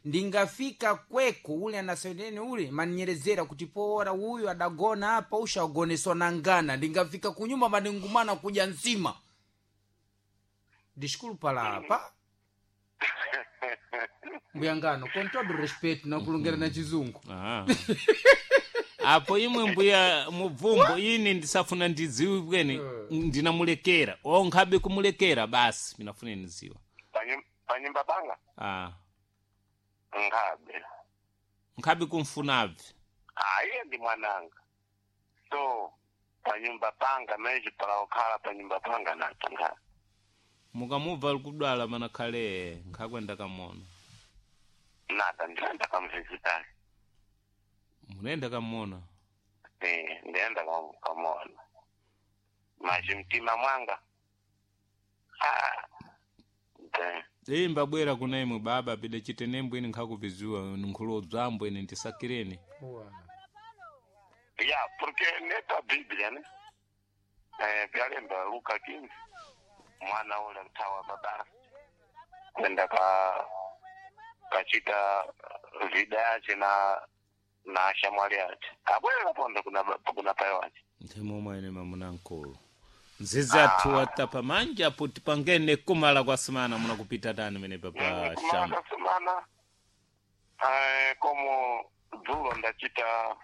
Ndingafika kweko ule anasendeni ule maninyerezera kuti poora uyu adagona apa ushagoneswa na ngana. Ndingafika kunyumba maningumana kuja nsima. Desculpa lá apa. Mbuyangano, com todo respeito nakulongera na chizungu. Ah. Apo imwe mbuya mubvumbo ini ndisafuna ndidziwe bwene ndinamulekera onkhabe kumulekera basi minafune niziwa. Panyumba panga. Ah. Nkhabe. Nkhabe kumfunabve. Iye ndi mwananga, so panyumba panga meji pala panyumba panga nato nkhabe. Mukamubva ali kudwala manakhale nkhakwenda kamona. Nada, ndiyenda kamvisitali. Munenda kamona. Eh, ndiyenda kamona maji mtima mwanga. Ah, Iyi mbabwera kuna imwe baba pide chitenembo ine nkhakuviziwa nkhulodzambo ine ndisakireni. Ya, porque neta Bíblia, né? Eh, vyalemba Luka 15 mwana ule mtawa baba kwenda kachita vida yace na shamwali yace abwera pondo kuna pai wace. Nthemomwe ine mamuna nkulu nzizi athu atapa manja apo tipangene kumala kwa simana munakupita tani mene papa Kumala shamba. kasemana, como dzulo ndachita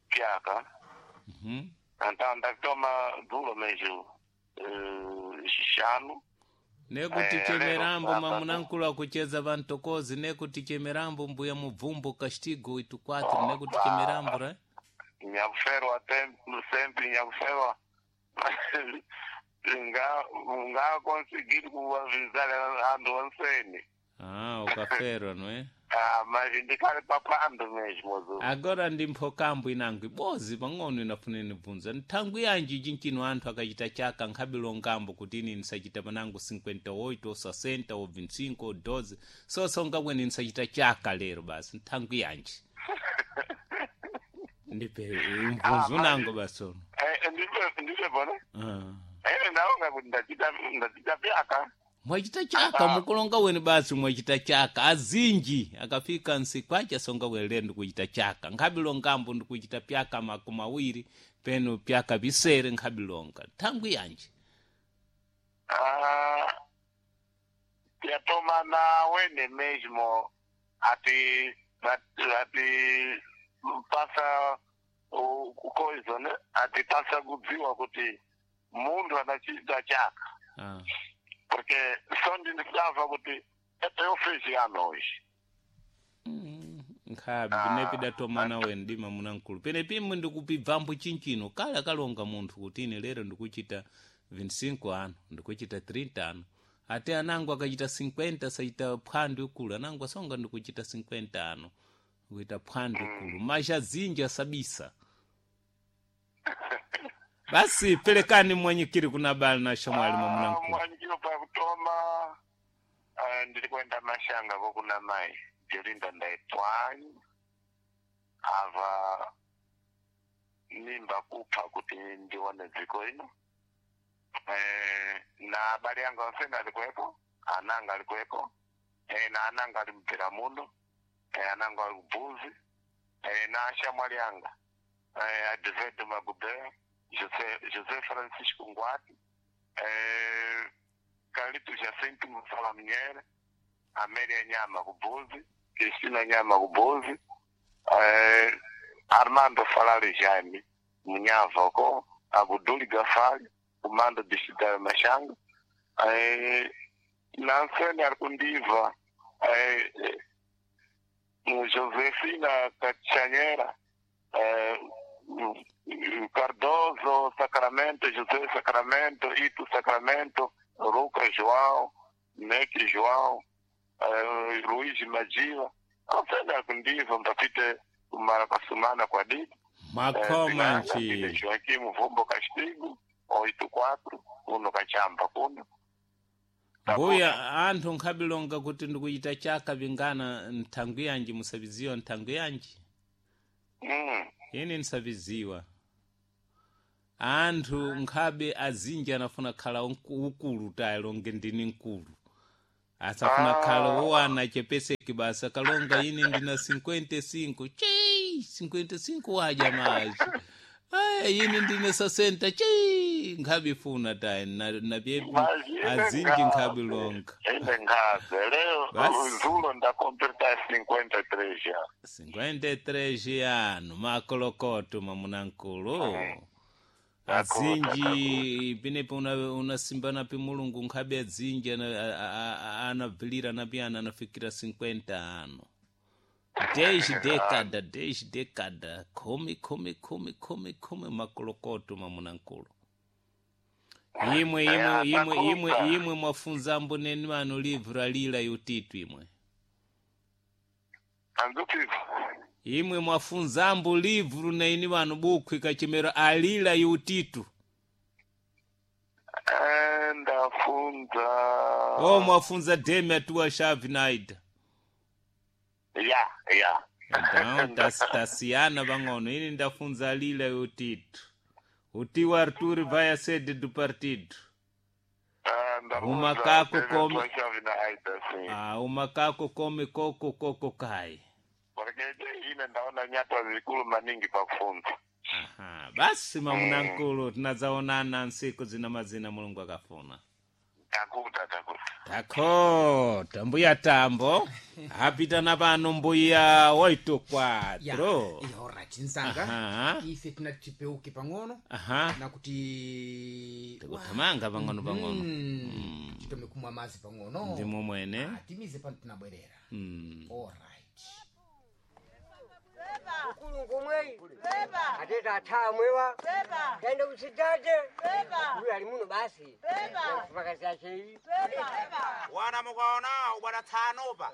pyaka. Anta ndatoma dzulo meju xixanu. Nekuti Eh, chemerambo lero, mamuna nkulu akucheza vantokozi nekuti chemerambo mbuya mubvumbo castigo itu quatro nekuti chemerambo re. Nyakuferwa sempre nyakuferwa nga conseguir kuvavisala antu onseni. Ah, ukaferwa no eh. Ah, mas ndikale papando mesmo zu. Agora ndi mphokambo inango ibozi pang'ono inafune nibvunza nthangu yanji chinchino anthu akachita chaka nkhabilo ngambo kuti ini ndisachita panango 58 ou 60 ou 25 ou 12 sosonga bwene ndisachita chaka lero basi nthangu yanji ndipe mvunzo unango basi ono. Eh, ndipe bona. Ah. Ene ndaonga kuti ndachita pyaka. Mwachita chaka mukulonga weni basi mwachita chaka azinji akafika nsikwacha songa welere ndikuchita chaka nkhabilo ngambo ndikuchita pyaka makumi awiri peno pyaka visere nkhabilonga nthangu yanji. Ah, yatoma na wene mesmo ati pasa coisa, né? Ati pasa kudziwa kuti munthu anachita chaka. Ah. Porque só ndindikudava kuti eu fiz ano hoje. Nkhabi pinepidatomana weni dima munankulu pene pimwe ndikupibvambo chinchino kale akalonga munthu kuti ine lero ndikuchita 25 ano ndikuchita 30 ano ate anango akachita 50 sachita phwando ikulu anango asonga ndikuchita 50 ano kuita phwando ikulu mazha zinji asabisa basi pelekani mwanyikiri kuna bali na shamwali mwa munankulu. Mwanyikiro pakutoma, ndiri kuenda mashanga kokuna mai Jolinda ndaitwanyi ava mimba kupha kuti ndione dziko ino. Na abale yangu ansene alikuwepo, ananga alikuwepo, na ananga ali mpira muno, ananga ali kubuzi, na ashamwali anga, Advedo Magubea, José Francisco Ngwati, Carlito Jacinto Musala Minhere, Amélia Nyama Kubuzi, Cristina Nyama Kubuzi, Armando Falari Jaime Munhava ko, Abuduli Gafari, Comando Distrital Machanga, Nansene Arcundiva, Josefina Cachanhera, Cardoso Sacramento, José Sacramento, Ito Sacramento, Lucas João, Neque João, Luiz Madiva, Nansene Arcundiva, Mpapite Maracassumana kwa Didi, Makhoma nchi. Joaquim Vumbo Castigo, 84, kuno Kachamba kuno. Mbuya anthu nkhabilonga kuti ndikuchita chaka vingana nthangu yanji musaviziwa nthangu yanji. Ine ndisaviziwa anthu nkhabe azinji anafuna khala ukulu tayi longe ndini mkulu. Asafuna khalo wana chepeseki basa kalonga ine ndina 55 chii 55 waja maji aya ine ndine 60 chii nkhabifuna tayi napye Mas ine azinji nkhabilonga Ine nkhabe leo Basi. zulo ndakompleta 53 ya. 53 ano makolokoto mamunankulu azinji pinepo unasimbana pi mulungu nkhabe azinji anabvilira napi ana anafikira 50 ano 10 dekada 10 dekada khumi khumi khumi khumi khumi makolokoto mamunankulu imwe imwe imwe imwe imwe mwafunzambo neni vano livra lila yutitu imwe Anduti imwe mwafunzambo livru naini vano bukhu ikachemero alila yutitu ndafunza o mwafunza demi atuwa shavi naida ya ya então tasiyana vang'ono ini ndafunza alila yutitu utiwa arturi vai a sede do partido Ah, ndafunza Umakako Demi come- Atuwa na Aida, sim. ah, umakako come koko koko kai Porque ine ndaona nyatwa zikulu maningi pakufunza. Aha, basi mamunankulu tinadzaonana nsiku zina mazina mulungu akafuna Takuta takuta. takho mbuya tambo apitana pano mbuya oito Ya, quatro ya, alright nsanga Aha. ife tinati tipeuke pang'ono aha nakuti tikuthamanga pang'ono pang'ono titome kumwa mazi pang'ono ndimo mwene Ah, timize pano tinabwerera alright Kulungu mwei ateta athamwewa tende kusitate uyu ali muno basi pakazachei Wana mukaona ubwana tsanopa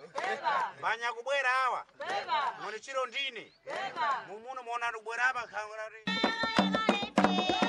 mbanya kubwera awa mwene chiro ndine mumuno muona kubwera apa khangura kuti